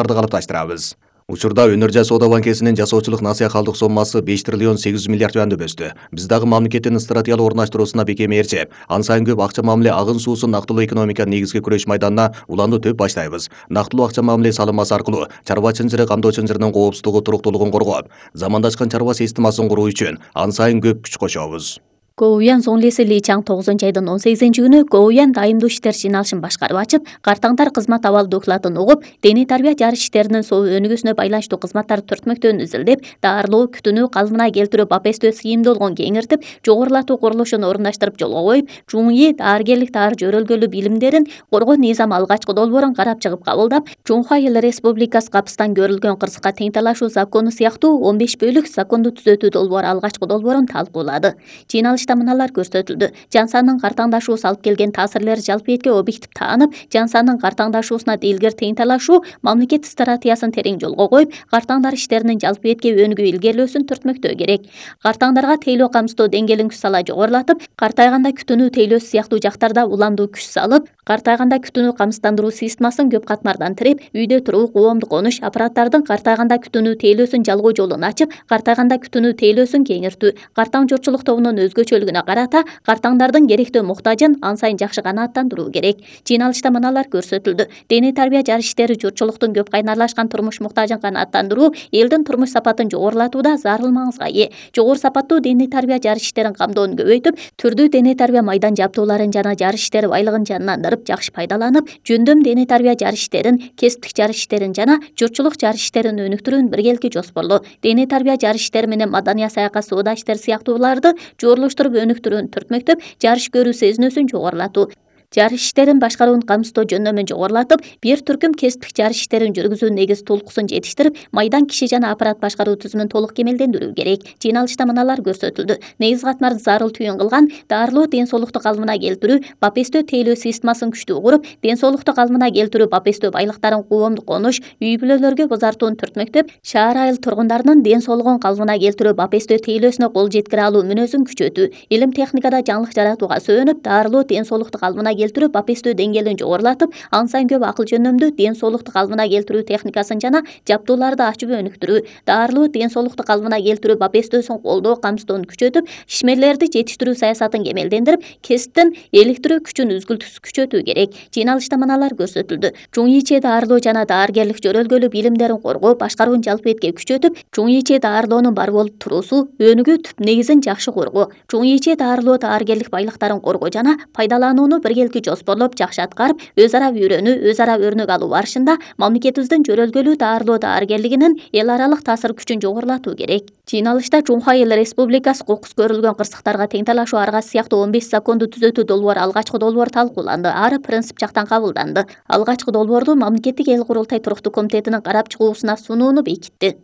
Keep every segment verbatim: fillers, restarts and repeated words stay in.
калыпташтырабыз. Учурда Өнөр Соода банкесинин жасоочулук насыя калдык соммасы беш триллион сегиз жүз миллиард юанды өстү. Биз дагы мамлекеттин стратегиялык орундаштыруусуна бекем ээрчип, ан сайын көп акча мамиле агын суусун нактылуу экономика негизги күрөш майданына уланды төп баштайбыз. Нактылуу акча мамиле салымасы аркылуу чарба чынжыры, камдоо чынжырынын коопсуздугу, туруктуулугун коргоп, замандашкан чарба системасын куруу үчүн ан сайын көп күч кошобуз. Гоуян Зонлеси Ли Чаң тогузунчу айдын он сегизинчи күнү Гоуян дайымдуу иштер жыйналышын башкарып ачып, картаңдар кызмат абал докладын угуп, дене тарбия жарыш иштеринин соо өнүгүүсүнө байланыштуу кызматтар төртмөктөн изилдеп, дарылоо, күтүнүү, калыбына келтирүү, бапестөө сыйымдуулугун кеңиртип, жогорулатуу курулушун орундаштырып жолго коюп, Чуңи дааргерлик таар жөрөлгөлүү билимдерин коргоо низам алгачкы долбоорун карап чыгып кабылдап, Чуңхай Эл Республикасы капыстан көрүлгөн кырсыкка тең талашуу закону сыяктуу он беш бөлүк законду түзөтүү долбоору алгачкы долбоорун талкуулады. Жыйналышта мыналар көрсөтүлдү. Жан сандын картаңдашуусу алып келген таасирлер жалпы этке объектив таанып, жан сандын картаңдашуусуна дилгер тең талашуу мамлекет стратегиясын терең жолго коюп, картаңдар иштеринин жалпы этке өнүгүү илгерилөөсүн түртмөктөө керек. Картаңдарга тейлөө камсыздоо деңгээлин күч сала жогорулатып, картайганда күтүнүү тейлөөсү сыяктуу жактарда уламдуу күч салып, картайганда күтүнүү камсыздандыруу системасын көп катмардан тирип, үйдө туруу, коомдук конуш аппараттардын картайганда күтүнүү тейлөөсүн жалгоо жолун ачып, картайганда күтүнүү тейлөөсүн кеңиртүү, картаң жортчулук тобунун өзгөчөлүгүнө карата картаңдардын керектөө муктажын ан сайын жакшы канааттандыруу керек. Жыйналышта мыналар көрсөтүлдү. Дене тарбия жарыш иштери журтчулуктун көп кайнарлашкан турмуш муктажын канааттандыруу элдин турмуш сапатын жогорулатууда зарыл маңызга ээ. Жогору сапаттуу дене тарбия жарыш иштерин камдоону көбөйтүп, түрдүү дене тарбия майдан жабдууларын жана жарыш иштери байлыгын жанындырып, жакшы пайдаланып, жөндөм дене тарбия жарыш иштерин, кесиптик жарыш иштерин жана журтчулук жарыш иштерин өнүктүрүүнү биргеликти жоспорлоо. Дене тарбия жарыш иштери менен маданий саякат, соода иштери сыяктууларды жоорлоштуруп өнүктүрүүнү түртмөктөп, жарыш көрүү сезинүүсүн жогорулатуу, жарыш иштерин башкаруунун камсыздоо жөндөмүн жогорулатып, бир түркүм кесиптик жарыш иштерин жүргүзүү негиз тулкуусун жетиштирип, майдан киши жана аппарат башкаруу түзүмүн толук кемелдендирүү керек. Жыйналышта мыналар көрсөтүлдү. Негиз катмарды зарыл түйүн кылган дарылоо, ден соолукту калыбына келтирүү, бапестөө тейлөө системасын күчтүү куруп, ден соолукту калыбына келтирүү, бапестөө байлыктарын коомдук конуш, үй бүлөлөргө бузартууну түртмөктөп, шаар айыл тургундарынын ден соолугун калыбына келтирүү, бапестөө тейлөөсүнө кол жеткире алуу мүнөзүн күчөтүү, илим техникада жаңылык жаратууга сөөнүп, дарылоо, ден соолукту калыбына келтирүү, бапестөө деңгээлин жогорулатып, ан сайын көп акыл жөндөмдүү ден соолукту калыбына келтирүү техникасын жана жабдууларды ачып өнүктүрүү, дарылоо, ден соолукту калыбына келтирүү, бапестөөсүн колдоо, камсыздоону күчөтүп, ишмерлерди жетиштирүү саясатын кемелдендирип, кесиптин эликтирүү күчүн үзгүлтүксүз күчөтүү керек. Жыйналышта мыналар көрсөтүлдү. Чуңиче дарылоо жана дааргерлик жөрөлгөлүү билимдерин коргоо, башкаруунун жалпы этке күчөтүп, Чуңиче дарылоонун бар болуп туруусу, өнүгүү түп негизин жакшы коргоо, Чуңиче дарылоо дааргерлик байлыктарын коргоо жана пайдаланууну биргеликти жоспорлоп, жакшы аткарып, өз ара үйрөнүү, өз ара өрнөк алуу барышында мамлекетибиздин жөрөлгөлүү даарылоо дааргерлигинин эл аралык таасир күчүн жогорулатуу керек. Жыйналышта Чуңхай Эл Республикасы кокус көрүлгөн кырсыктарга тең талашуу аргасы сыяктуу он беш законду түзөтүү долбоору алгачкы долбоор талкууланды. Ары принцип жактан кабылданды. Алгачкы долбоорду мамлекеттик эл курултай туруктуу комитетинин карап чыгуусуна сунууну бекитти.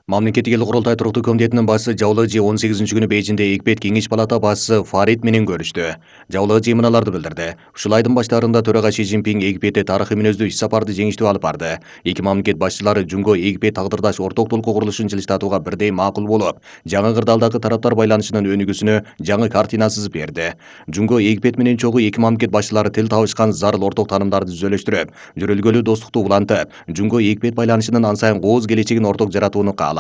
Мамлекеттик эл курултай туруктуу комитетинин башчысы Жаулыжи он сегизинчи күнү Бейжиңде Эгипет кеңеш палата башчысы Фарид менен көрүштү. Жаулыжи мыналарды билдирди. Ушул айдын баштарында төрага Ши Цзиньпин Египетте тарыхый мүнөздүү иш сапарды жеңиштүү алып барды. Эки мамлекет башчылары Жунго Египет тагдырдаш орток толкуу курулушун жылыштатууга бирдей макул болуп, жаңы кырдаалдагы тараптар байланышынын өнүгүүсүнө жаңы картина сызып берди. Жунго Египет менен чогуу эки мамлекет башчылары тил табышкан зарыл орток таанымдарды түзөлөштүрүп, жөрөлгөлүү достукту улантып, Жунго Египет байланышынын ан сайын кооз келечегин орток жаратууну каалайт.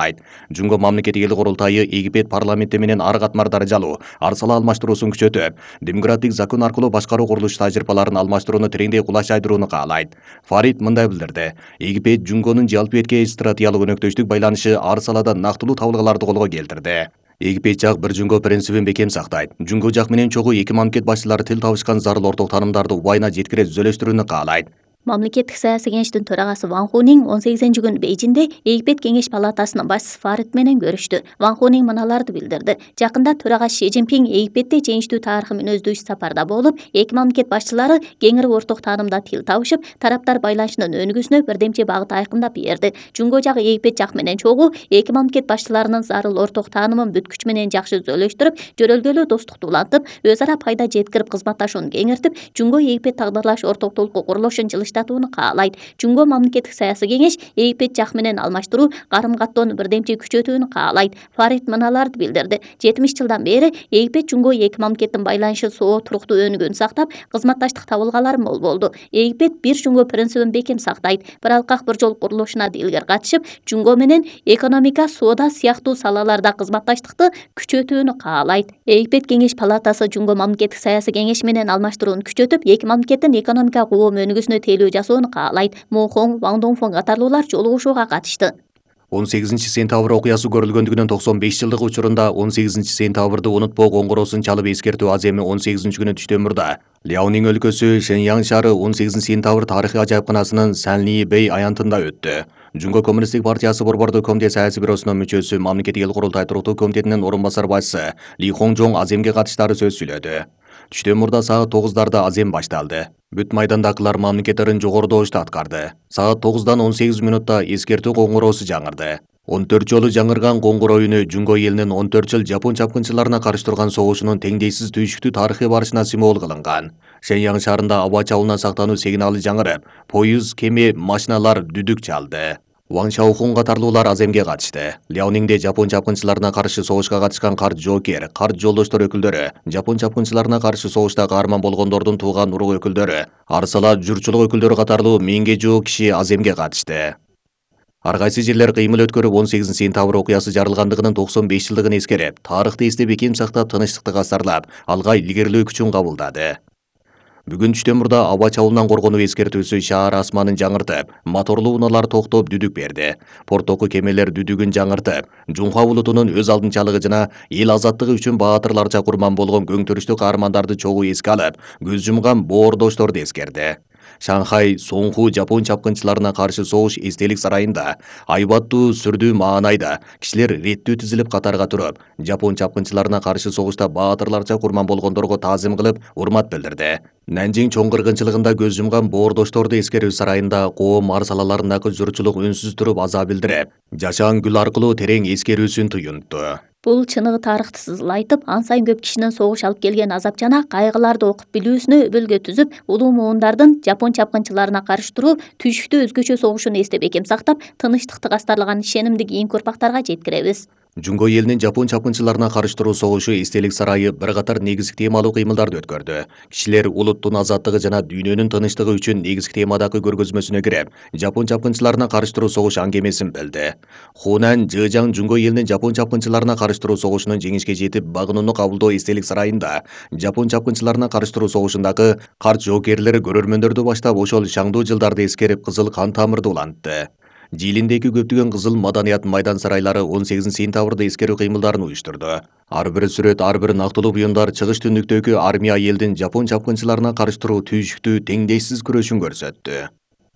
Жунго мамлекеттик эл курултайы Египет парламенти менен ар катмар даражалуу, арсала алмаштыруусун күчөтүп, демократик закон аркылуу башкаруу курулуш тажрыйбаларын алмаштырууну тереңдей кулаш айдырууну каалайт. Фарид мындай билдирди. Египет Жунгонун жалпы этке стратегиялык өнөктөштүк байланышы ар салада нактылуу табылгаларды колго келтирди. Египет жак бир Жунго принцибин бекем сактайт. Жунго жак менен чогуу эки мамлекет башчылары тил табышкан зарыл орток таанымдарды убайына жеткире түзөлөштүрүүнү каалайт. Мамлекеттик саясий кеңештин төрагасы Ван Хунинг он сегизинчи күнү Бейжиңде Египет кеңеш палатасынын башчысы Фарид менен көрүштү. Ван Хунинг мыналарды билдирди. Жакында төрага Ши Цзиньпин Египетте жеңиштүү тарыхый мүнөздүү иш сапарда болуп, эки мамлекет башчылары кеңири орток таанымда тил табышып, тараптар байланышынын өнүгүүсүнө бирдемче багыт айкындап берди. Жунго жак Египет жак менен чогуу эки мамлекет башчыларынын зарыл орток таанымын бүт күч менен жакшы түзөлөштүрүп, жөрөлгөлүү достукту улантып, өз ара пайда жеткирип кызматташууну кеңиртип, Жунго Египет тагдырлаш орток толкуу курулушун жылыштатууга жылыштатууну каалайт. Жумго мамлекеттик саясий кеңеш Египет жак менен алмаштыруу карым каттоону бирдемчи күчөтүүнү каалайт. Фарид мыналарды билдирди. жетимиш жылдан бери Египет жумго эки мамлекеттин байланышы соо туруктуу өнүгүүнү сактап, кызматташтык табылгалары мол болду. Египет бир жумго принцибин бекем сактайт. Bir алкак bir жол курулушуна илгер катышып, жумго менен экономика, соода сыяктуу салаларда кызматташтыкты күчөтүүнү каалайт. Египет кеңеш палатасы жумго мамлекеттик саясий кеңеш менен алмаштырууну күчөтүп, эки мамлекеттин экономика коом өнүгүүсүнө тейлөө жасоону каалайт. Мо Хонг, Ван Донгфон катарлуулар жолугушууга катышты. он сегизинчи сентябрь окуясы көрүлгөндүгүнүн токсон беш жылдыгы учурунда он сегизинчи сентябрды унутпоо коңгуроосун чалып эскертүү аземи он сегизинчи күнү Түштөмүрдө Ляонин өлкөсү Шэньян шаары он сегизинчи сентябрь тарыхый ажайыпканасынын Санли Бэй аянтында өттү. Жумго коммунисттик партиясы борбордук комитет саясий бюросунун мүчөсү, мамлекеттик эл курултай туруктуу комитетинин орун басар башчысы Ли Хонжон аземге катыштары сөз сүйлөдү. Түштөмүрдө саат тогуздарда азем башталды. Бүт майдандакылар мамлекеттерин жогоруда ошту аткарды. Саат тогуздан он сегиз мүнөттө эскертүү коңгуроосу жаңырды. он төрт жолу жаңырган коңгуроо үнү жумго элинин он төрт жыл жапон чапкынчыларына каршы турган согушунун теңдейсиз түйшүктүү тарыхый барышына символ кылынган. Шэньян шаарында аба чабуулунан сактануу сигналы жаңырып, поезд, кеме, машиналар дүдүк чалды. Ван Шаохун катарлуулар аземге катышты. Ляонинде жапон чапкынчыларына каршы согушка катышкан карт жоокер, карт жолдоштор өкүлдөрү, жапон чапкынчыларына каршы согушта каарман болгондордун тууган урук өкүлдөрү, арсала журтчулук өкүлдөрү катарлуу миңге жуuk киши аземге катышты. Ар кайсы жерлер кыймыл өткөрүп он сегизинчи сентябрь окуясы жарылгандыгынын токсон беш жылдыгын эскерип, тарыхты эстеп бекем сактап, тынычтыкты кастарлап, алга илгерилөө күчүн кабылдады. Бүгүн Түштөмүрдө аба чабуулунан коргонуу эскертүүсү шаар асманын жаңыртып, моторлуу унаалар токтоп дүдүк берди. Порттогу кемелер дүдүгүн жаңыртып, Жунха улутунун өз алдынчалыгы жана эл азаттыгы үчүн баатырларча курман болгон көңтүрүштүү каармандарды чогуу эске алып, көз жумган боордошторду эскерди. Шанхай Соңху жапон чапкынчыларына каршы согуш эстелик сарайында айбаттуу сүрдүү маанайда кишилер реттүү тизилип катарга туруп, жапон чапкынчыларына каршы согушта баатырларча курман болгондорго таазим кылып, урмат билдирди. Нанжиң чоң кыргынчылыгында көз жумган боордошторду эскерүү сарайында коом ар салаларындагы журтчулук үнсүз туруп аза билдирип, жашаан гүл аркылуу терең эскерүүсүн туюнтту. Бул чыныгы тарыхты сызылайтып, ан сайын көп кишинин согуш алып келген азап жана кайгыларды окуп билүүсүнө өбөлгө түзүп, улуу муундардын жапон чапкынчыларына каршы туруу түйшүктүү өзгөчө согушун эстеп бекем сактап, тынычтыкты кастарлаган ишенимди кийинки урпактарга жеткиребиз. Жумго элинин жапон чапкынчыларына каршы туруу согушу эстелик сарайы бир катар негизги темалуу кыймылдарды өткөрдү. Кишилер улуттун азаттыгы жана дүйнөнүн тынычтыгы үчүн негизги темадагы көргөзмөсүнө кирип, жапон чапкынчыларына каршы туруу согуш аңгемесин билди. Хунан Жыжаң жумго элинин жапон чапкынчыларына каршы туруу согушунун жеңишке жетип багынууну кабылдоо эстелик сарайында жапон чапкынчыларына каршы туруу согушундагы карт жоокерлери көрөрмөндөрдү баштап, ошол шаңдуу жылдарды эскерип, кызыл кан тамырды улантты. Жиилиндеги көптөгөн кызыл маданият майдан сарайлары он сегизинчи сентябрда эскерүү кыймылдарын уюштурду. Ар бир сүрөт, ар бир нактылуу буюмдар чыгыш түндүктөгү армия элдин жапон чапкынчыларына каршы туруу түйшүктүү, теңдейсиз күрөшүн көрсөттү.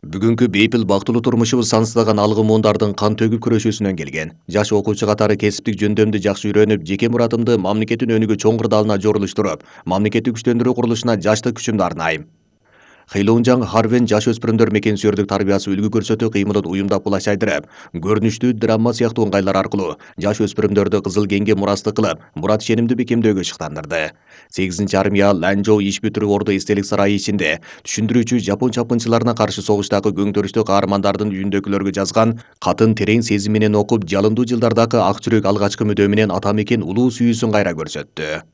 Бүгүнкү бейпил бактылуу турмушубуз сансыздаган алгы муундардын кан төгүп күрөшүүсүнөн келген. Жаш окуучу катары кесиптик жөндөмдү жакшы үйрөнүп, жеке муратымды мамлекеттин өнүгүү чоң кырдаалына жорулуштуруп, мамлекетти күчтөндүрүү курулушуна жаштык күчүмдү арнайм. Хейлоунжаң Харвен жаш өспүрүмдөр мекен сүйөрдүк тарбиясы үлгү көрсөтүү кыймылын уюмдап булашайдырып, көрүнүштүү драма сыяктуу ыңгайлар аркылуу жаш өспүрүмдөрдү кызыл кеңге мурастык кылып, мурат ишенимди бекемдөөгө шыктандырды. сегизинчи армия Ланжоу иш бүтүрүү орду эстелик сарайы ичинде түшүндүрүүчү жапон чапкынчыларына каршы согуштагы көңтөрүштүү каармандардын үйүндөгүлөргө жазган катын терең сезим менен окуп, жалындуу жылдардагы ак жүрөк алгачкы мүдөө менен ата мекен улуу сүйүүсүн кайра көрсөттү.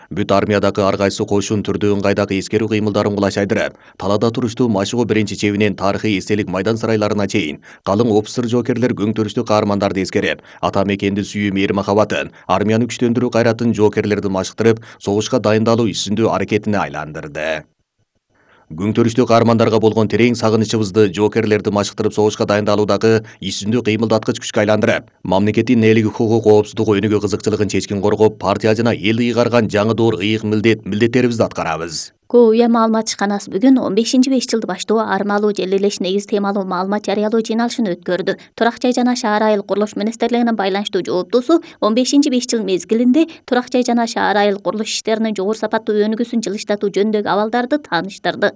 Бүт армиядагы ар кайсы кошун түрдүү ыңгайдагы эскерүү кыймылдарын кулашайдырып, талаада туруштуу Машыгуу биринчи чебинен тарыхый эстелик майдан сарайларына чейин калың офицер жоокерлер көңтөрүштүү каармандарды эскерип, ата мекенди сүйүү мээри махабатын, армияны күчтөндүрүү кайратын жоокерлерди машыктырып, согушка дайындалуу үстүндүү аракетине айландырды. Көңтөрүштүү каармандарга болгон терең сагынычыбызды жоокерлерди машыктырып согушка дайындалуудагы исүндүү кыймылдаткыч күчкө айландырып, мамлекеттин ээлиги, хукук, коопсуздугу, өнүгүү кызыкчылыгын чечкин коргоп, партия жана эл ыйгарган жаңы доор ыйык милдет милдеттерибизди аткарабыз. Коуя маалымат ишканасы бүгүн он бешинчи беш жылды баштоо армалуу жерлелеш негиз темалуу маалымат жарыялоо жыйналышын өткөрдү. Турак жай жана шаар айыл курулуш министрлигинин байланыштуу жооптуусу он бешинчи беш жыл мезгилинде турак жай жана шаар айыл курулуш иштеринин жогору сапаттуу өнүгүүсүн жылыштатуу жөнүндөгү абалдарды тааныштырды.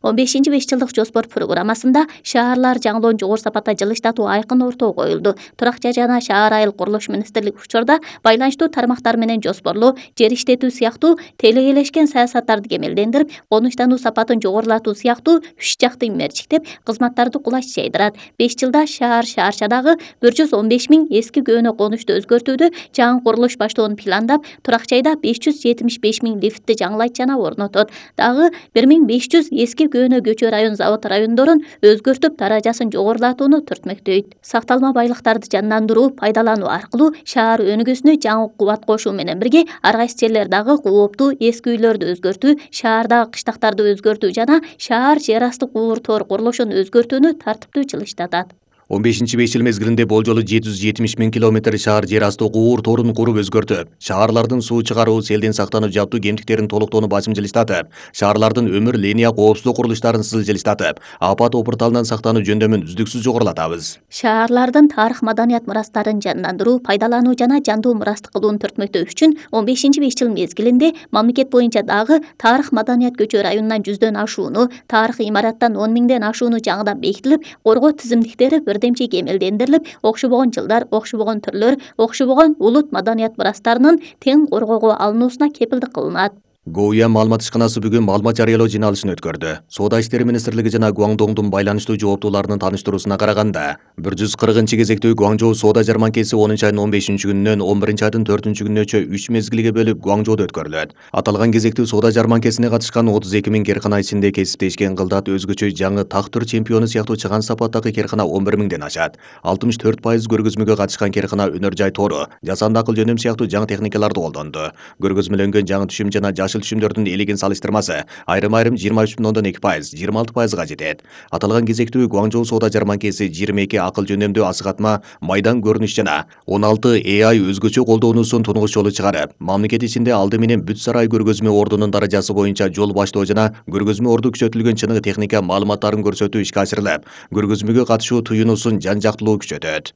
он бешинчи беш жылдык жоспор программасында шаарлар жаңылоон жогору сапатта жылыштатуу айкын ортого коюлду. Турак жай жана шаар айыл курулуш министрлиги учурда байланыштуу тармактар менен жоспорлоо, жер иштетүү сыяктуу тейлегелешкен саясаттарды кемелдендирип, жетилдендирип, конуштануу сапатын жогорулатуу сыяктуу үч жакты мерчиктеп кызматтарды кулайчу жайдырат. беш жылда шаар шаарчадагы бир жүз он беш миң эски көөнө конушту өзгөртүүдө жаңы курулуш баштоонун пландап, турак жайда беш жүз жетимиш беш миң лифтти жаңылайт жана орнотот. Дагы бир миң беш жүз эски көөнө көчө район завод райондорун өзгөртүп, даражасын жогорулатууну түртмөктөйт. Сакталма байлыктарды жандандыруу, пайдалануу аркылуу шаар өнүгүүсүнө жаңы кубат кошуу менен бирге ар кайсы жерлер дагы кооптуу эски үйлөрдү өзгөртүү, шаардагы кыштактарды өзгөртүү жана шаар жер асты куур тор курулушун өзгөртүүнү тартиптүү жылыштатат. он бешинчи беш жыл мезгилинде болжолу жети жүз жетимиш миң километр шаар жер асты куур торун куруп өзгөртүп, шаарлардын суу чыгаруу, селден сактанып жаптуу кемтиктерин толуктоону басым жылыштатып, шаарлардын өмүр линия коопсуздук курулуштарын сыл жылыштатып, апат опурталынан сактануу жөндөмүн үздүксүз жогорулатабыз. Шаарлардын тарых маданият мурастарын жандандыруу, пайдалануу жана жандуу мурастык кылууну түртмөктөө үчүн он бешинчи беш жыл мезгилинде мамлекет боюнча дагы тарых маданият көчө районунан жүздөн ашууну, тарых имараттан он миңден ашууну жаңыдан бекитилип, коргоо тизимдиктери бирдемче кемелдендирилип, окшобогон жылдар, окшобогон түрлөр, окшобогон улут маданият мурастарынын тең коргоого алынуусуна кепилдик кылынат. Гоуя маалымат ишканасы бүгүн маалымат жарыялоо жыйналышын өткөрдү. Соода иштери министрлиги жана Гуаңдоңдун байланыштуу жооптууларынын таныштыруусуна караганда, бир жүз кыркынчы кезектүү Гуаңжоу соода жарманкеси онунчу айдын он бешинчи күнүнөн он биринчи айдын төртүнчү күнүнөчө үч мезгилге бөлүп Гуаңжоодо өткөрүлөт. Аталган кезектүү соода жарманкесине катышкан отуз эки миң керкана ичинде кесиптешкен кылдат өзгөчө жаңы тактыр чемпиону сыяктуу чыган сапаттагы керкана он бир миңден ашат. алтымыш төрт пайыз көргөзмөгө катышкан керкана өнөр жай тору, жасанды акыл жөнөм сыяктуу жаңы техникаларды колдонду. Көргөзмөлөнгөн жаңы түшүм жана жашыл түшүмдөрдүн элегин салыштырмасы айрым-айрым жыйырма үч бүтүн ондон эки пайыз, жыйырма алты пайызга жетет. Аталган кезектүү Гуаңжоу соода жарманкеси жыйырма эки акыл жөнөмдүү асыгатма, майдан көрүнүш жана он алты эй ай өзгөчө колдонуусун тунгуч жолу чыгарып, мамлекет ичинде алды менен бүт сарай көргөзмө ордунун даражасы боюнча жол баштоо жана көргөзмө орду күчөтүлгөн чыныгы техника маалыматтарын көрсөтүү ишке ашырылып, көргөзмөгө катышуу туюнусун жан-жактылуу күчөтөт.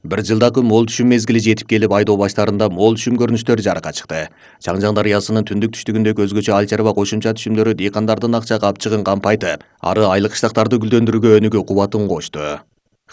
Бир жылдагы мол түшүм мезгили жетип келип, айдоо баштарында мол түшүм көрүнүштөрү жарыкка чыкты. Чаңжаң дарыясынын түндүк түштүгүндөгү өзгөчө ай чарба кошумча түшүмдөрү дыйкандардын акча капчыгын кампайтып, ары айлык кыштактарды гүлдөндүрүүгө өнүгүү кубатын кошту.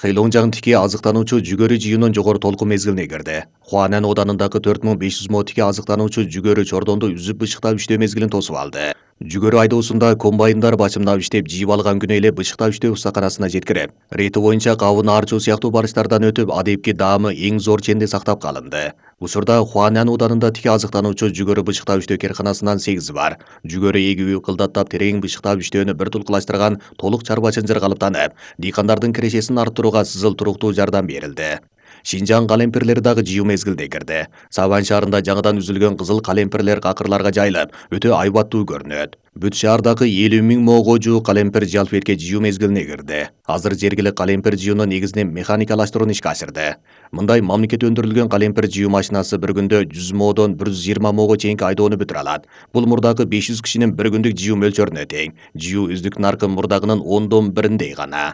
Хэйлонжаң тики азыктануучу жүгөрү жыйынын жогору толкун мезгилине кирди. Хуанан оданындагы төрт миң беш жүз мо тики азыктануучу жүгөрү чордонду үзүп бышыктап иштөө мезгилин тосуп алды. Жүгөрү айдоосунда комбайндар бачымдап иштеп, жийип алган күнү эле бышыктап иштөө устаканасына жеткирип, рети боюнча кабын аарчуу сыяктуу барыштардан өтүп, адепки даамы эң зор ченде сактап калынды. Учурда Хуанан оданында тики азыктануучу жүгөрү бышыктап иштөө керканасынан сегизи бар. Жүгөрү эгүү, кылдаттап, терең бышыктап иштөөнү бир тулкулаштырган толук чарба чынжыр калыптанып, дыйкандардын кирешесин арттырууга сызыл туруктуу жардам берилди. Шинжаң калемпирлери дагы жыйуу мезгилде кирди. Сабан шаарында жаңыдан үзүлгөн кызыл калемпирлер какырларга жайылып, өтө айбаттуу көрүнөт. Бүт шаардагы элүү миң мого жуук калемпир жалпетке жыйуу мезгилине кирди. Азыр жергилик калемпир жыюуну негизинен механикалаштырууну ишке ашырды. Мындай мамлекет өндүрүлгөн калемпир жыюу машинасы бир күндө жүз модон бир жүз жыйырма мого чейинки айдоону бүтүрө алат. Бул мурдагы беш жүз кишинин бир күндүк жыюу мөлчөрүнө тең. Жыюу үздүк наркы мурдагынын ондон бириндей гана.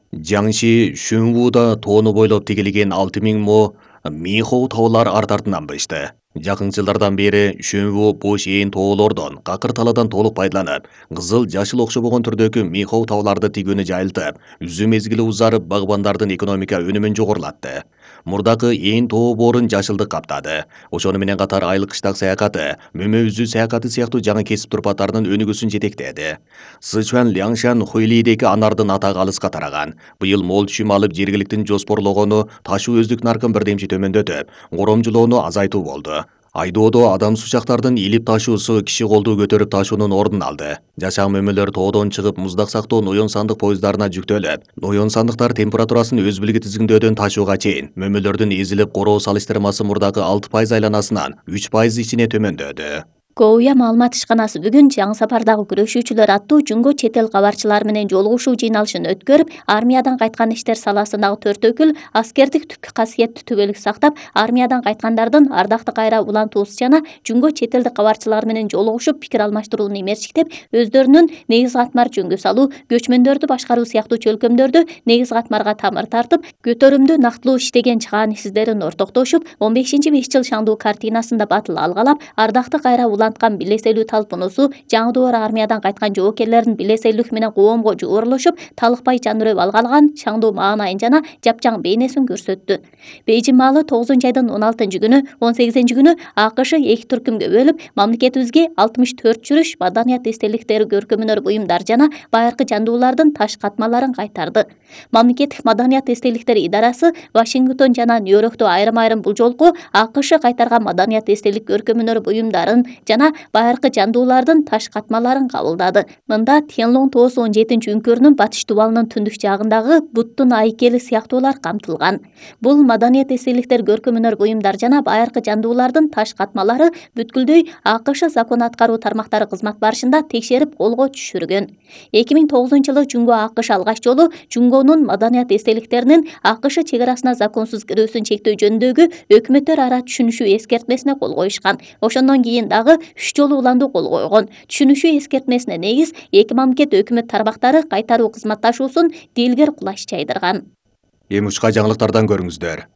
Жаңши Шүнвуда тоону бойлоп тигилген алты миң мо Михоу таулар арт артынан бышты. Жакын жылдардан бери Шүнву бош ээн тоолордон, какыр таладан толук пайдаланып, кызыл жашыл окшобогон түрдөгү Михоу тауларды тигүүнү жайылтып, үзүү мезгили узарып, багбандардын экономика өнүмүн жогорулатты. Мурдагы ээн тоо боорун жашылдык каптады. Ошону менен катар айлык кыштак саякаты, мөмө үзүү саякаты сыяктуу жаңы кесип турпаттарынын өнүгүүсүн жетектеди. Сычуан, Ляңшан, Хуйлидеги анардын атагы алыска тараган. Быйыл мол түшүм алып, жергиликтин жоспорлогону ташуу өздүк наркын бирдемчи төмөндөтүп, коромжулоону азайтуу болду. Айдоодо адам сучактардын илип ташуусу киши колду көтөрүп ташуунун ордун алды. Жашак мөмөлөр тоодон чыгып, муздак сактоо ноён сандык поезддарына жүктөлүп, ноён сандыктар температурасын өз билги тизгиндөөдөн ташууга чейин мөмөлөрдүн эзилип короо салыштырмасы мурдагы алты пайыз айланасынан үч пайыз ичине төмөндөдү. Гоуя маалымат ишканасы бүгүн жаңы сапардагы күрөшүүчүлөр аттуу жүнгө чет эл кабарчылары менен жолугушуу жыйналышын өткөрүп, армиядан кайткан иштер саласындагы төрт өкүл аскердик түпкү касиетти түбөлүк сактап, армиядан кайткандардын ардакты кайра улантуусу жана жүнгө чет элдик кабарчылар менен жолугушуп пикир алмаштырууну имерчиктеп, өздөрүнүн негиз катмар жөнгө салуу, көчмөндөрдү башкаруу сыяктуу чөлкөмдөрдү негиз катмарга тамыр тартып, көтөрүмдүү нактылуу иштеген чыгаан издерин ортоктошуп, он бешинчи беш жыл шаңдуу картинасында батыл алгалап, ардакты кайра улантуу уланткан билеселүү талпунуусу жаңы доор армиядан кайткан жоокерлердин билеселүүлүк менен коомго жуурулушуп, талыкпай жандырып алгалган шаңдуу маанайын жана жапжаң бейнесин көрсөттү. Бейжин маалы тогузунчу айдын он алтынчы күнү, он сегизинчи күнү АКШ эки түркүмгө бөлүп, мамлекетибизге алтымыш төрт жүрүш маданият эстеликтери, көркөм-өнөр буюмдар жана байыркы жандуулардын таш катмаларын кайтарды. Мамлекеттик маданият эстеликтери идарасы Вашингтон жана Нью-Йоркту айрым-айрым бул жолку АКШ кайтарган маданият эстелик, көркөм-өнөр буюмдарын жана байыркы жандуулардын таш катмаларын кабылдады. Мында Тянлон тоосу он жетинчи үңкөрүнүн батыш дубалынын түндүк жагындагы буттун айкели сыяктуулар камтылган. Бул маданият эстеликтер, көркөм-өнөр буюмдар жана байыркы жандуулардын таш катмалары бүткүлдөй АКШ закон аткаруу тармактары кызмат барышында текшерип колго түшүргөн. эки миң тогузунчу жылы Жунго АКШ алгач жолу Жунгонун маданият эстеликтеринин АКШ чек арасына законсуз кирүүсүн чектөө жөнүндөгү өкмөттөр ара түшүнүшүү эскертмесине кол коюшкан. Ошондон кийин дагы үч жолу уланду кол койгон. Түшүнүшүү эскертмесине негиз эки мамлекет өкмөт тармактары кайтаруу кызматташуусун дилгер кулаш жайдырган. Эми учка жаңылыктардан көрүңүздөр.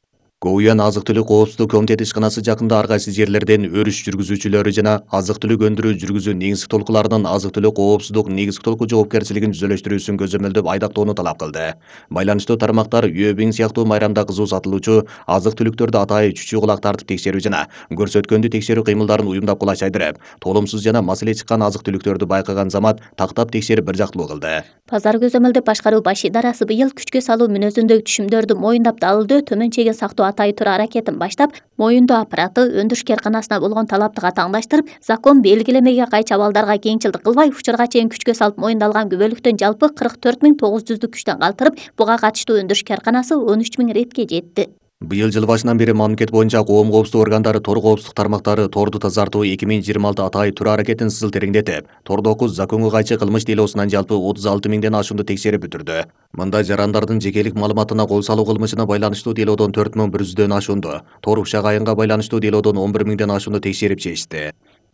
Гоуян азык-түлүк коопсуздук комитети ишканасы жакында ар кайсы жерлерден өрүш жүргүзүүчүлөрү жана азык-түлүк өндүрүү жүргүзүү негизги толкуларынын азык-түлүк коопсуздук негизги толку жоопкерчилигин жүзөлөштүрүүсүн көзөмөлдөп айдактоону талап кылды. Байланыштуу тармактар Юэбиң сыяктуу майрамда кызуу сатылуучу азык-түлүктөрдү атайы чүчүү кулак тартып текшерүү жана көрсөткөндү текшерүү кыймылдарын уюмдап кулаш жайдырып, толумсуз жана маселе чыккан азык-түлүктөрдү байкаган замат тактап текшерип бир жактылуу кылды. Пазар көзөмөлдөп башкаруу баш идарасы быйыл күчкө салуу мүнөзүндөгү түшүмдөрдү моюндап, далылдөө, төмөн чегин сактоо атайы тура аракетин баштап, моюндоо аппараты өндүрүш кээрканасына болгон талапты катаңдаштырып, закон белгилемеге кайчы абалдарга кеңчилдик кылбай, учурга чейин күчкө салып моюндалган күбөлүктөн жалпы кырк төрт миң тогуз жүздүк күчтөн калтырып, буга катыштуу өндүрүш кээрканасы он үч миң ретке жетти. Быйыл жыл башынан бери мамлекет боюнча коом коопсуздук органдары, тор коопсуздук тармактары торду тазартуу эки миң жыйырма алты атайы тура аракетин сызыл тереңдетип, тордогу законго кайчы кылмыш делосунан жалпы отуз алты миңден ашуунду текшерип бүтүрдү. Мында жарандардын жекелик маалыматына кол салуу кылмышына байланыштуу делоодон төрт миң бир жүздөн ашуунду, тор ушак айынга байланыштуу делоодон он бир миңден ашуунду текшерип чечти.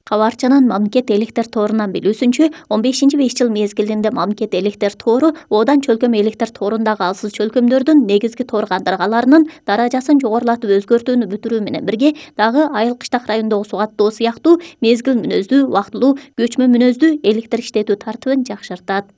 Кабарчынын мамлекет электер торунан билүүсүнчө, он бешинчи беш жыл мезгилинде мамлекет электер тору Одан чөлкөм электер торундагы алсыз чөлкөмдөрдүн негизги тор кандыргаларынын даражасын жогорулатып өзгөртүүнү бүтүрүү менен бирге, дагы айыл кыштак райондогу суу каттоо сыяктуу мезгил мүнөздүү, убактылуу, көчмө мүнөздүү электр иштетүү тартыбын жакшыртат.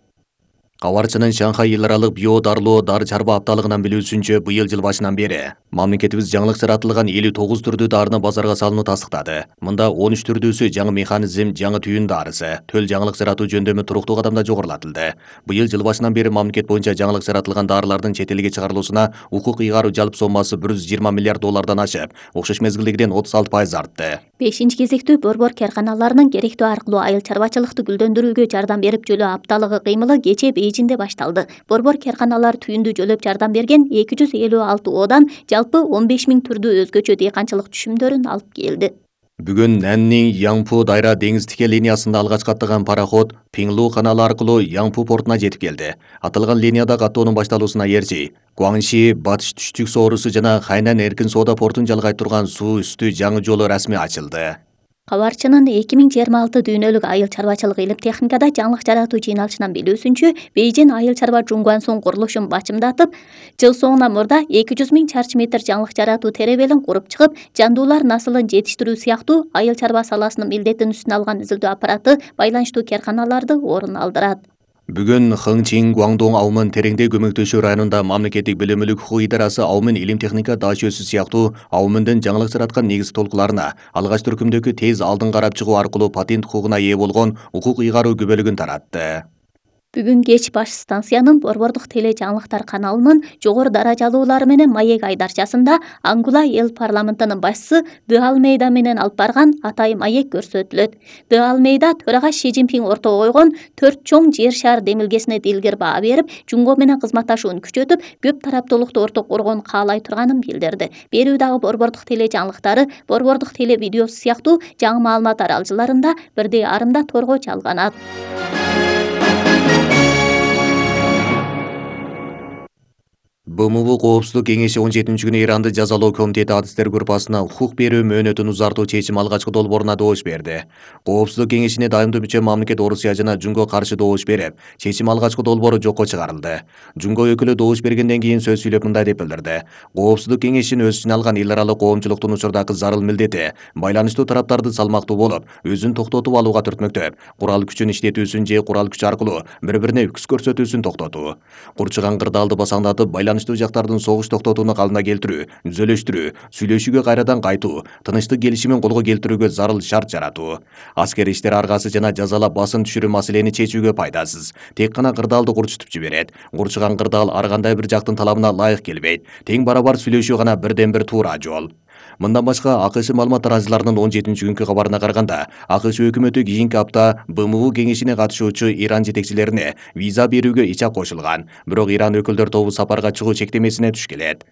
Кабарчынын Шанхай эл аралык био дарылоо дары чарба апталыгынан билүүсүнчө, быйыл жыл башынан бери мамлекетибиз жаңылык жаратылган элүү тогуз түрдүү дарыны базарга салууну тастыктады. Мында он үч түрдүүсү жаңы механизм, жаңы түйүн дарысы, төл жаңылык жаратуу жөндөмү туруктуу кадамда жогорулатылды. Быйыл жыл башынан бери мамлекет боюнча жаңылык жаратылган дарылардын чет элге чыгарылуусуна укук ыйгаруу жалпы соммасы бир жүз жыйырма миллиард доллардан ашып, окшош мезгилдегиден отуз алты пайыз артты. бешинчи кезектүү борбор кээрканаларынын керектүү аркылуу айыл чарбачылыкты гүлдөндүрүүгө жардам берип жөлөө апталыгы кыймылы кечээ Бейжинде башталды. Борбор кээрканалар түйүндү жөлөп жардам берген эки жүз элүү алты Одан жалпы он беш миң түрдүү өзгөчө дыйканчылык түшүмдөрүн алып келди. Бүгүн Наннин Яңпу дайра деңиз тике линиясында алгач каттаган пароход Пиңлу каналы аркылуу Яңпу портуна жетип келди. Аталган линияда каттоонун башталуусуна эрчи Гуаңши, Батыш түштүк соорусу жана Хайнан эркин соода портун жалгай турган суу үстү жаңы жолу расмий ачылды. Кабарчынын эки миң жыйырма алты дүйнөлүк айыл чарбачылык илим техникада жаңылык жаратуу жыйналышынан билүүсүнчө, Бейжин айыл чарба Жунгуансун курулушун бачымдатып, жыл соңуна мурда эки жүз миң чарчы метр жаңылык жаратуу теребелин куруп чыгып, жандуулар насылын жетиштирүү сыяктуу айыл чарба саласынын милдетин үстүнө алган изилдөө аппараты байланыштуу кээрканаларды орун алдырат. Бүгүн Хыңчин Гуаңдоң Аумын тереңде көмөктөшүү районунда мамлекеттик билим укук идарасы Аумын илим техника даашөсү сыяктуу Аумындын жаңылык жараткан негизги толкуларына алгач түркүмдөгү тез алдын карап чыгуу аркылуу патент укугуна ээ болгон укук ыйгаруу күбөлүгүн таратты. Бүгүн кеч баш станциянын борбордук теле жаңылыктар каналынын жогору даражалуулары менен маек айдарчасында Ангула эл парламентинин башчысы Ды Алмейда менен алып барган атайын маек көрсөтүлөт. Ды Алмейда төрага Ши Цзиньпин ортого койгон төрт чоң жер шаар демилгесине дилгер баа берип, Жунго менен кызматташууну күчөтүп, көп тараптуулукту орток коргоону каалай турганын билдирди. Берүү дагы борбордук теле жаңылыктары, борбордук теле видеосу сыяктуу жаңы маалымат аралжыларында бирдей арымда торго чалганат. БМУ Коопсуздук кеңеши он жетинчи күнү Иранды жазалоо комитети адистер группасына укук берүү мөөнөтүн узартуу чечим алгачкы долбооруна добуш берди. Коопсуздук кеңешине дайымдуу мүчө мамлекет Орусия жана Жунго каршы добуш берип, чечим алгачкы долбоору жокко чыгарылды. Жунго өкүлү добуш бергенден кийин сөз сүйлөп мындай деп билдирди. Коопсуздук кеңешинин өз ичине алган эл аралык коомчулуктун учурдагы зарыл милдети байланыштуу тараптарды салмактуу болуп, өзүн токтотуп алууга түртмөктөп, курал күчүн иштетүүсүн же курал күч аркылуу бири-бирине үкүс көрсөтүүсүн токтотуу, курчуган кырдаалды басаңдатып байланыштуу жактардын согуш токтотууну калыбына келтирүү, түзөлөштүрүү, сүйлөшүүгө кайрадан кайтуу, тынычтык келишимин колго келтирүүгө зарыл шарт жаратуу, аскер иштер аргасы жана жазалап басым түшүрүү маселени чечүүгө пайдасыз, тек гана кырдаалды курчутуп жиберет. Курчуган кырдаал ар кандай бир жактын талабына ылайык келбейт. Тең барабар сүйлөшүү гана бирден бир туура жол. Мындан башка АКШ маалымат тараазыларынын он жетинчи күнкү кабарына караганда, АКШ өкмөтү кийинки апта БМУ кеңешине катышуучу Иран жетекчилерине виза берүүгө ичак кошулган, бирок Иран өкүлдөр тобу сапарга чыгуу чектемесине туш келет.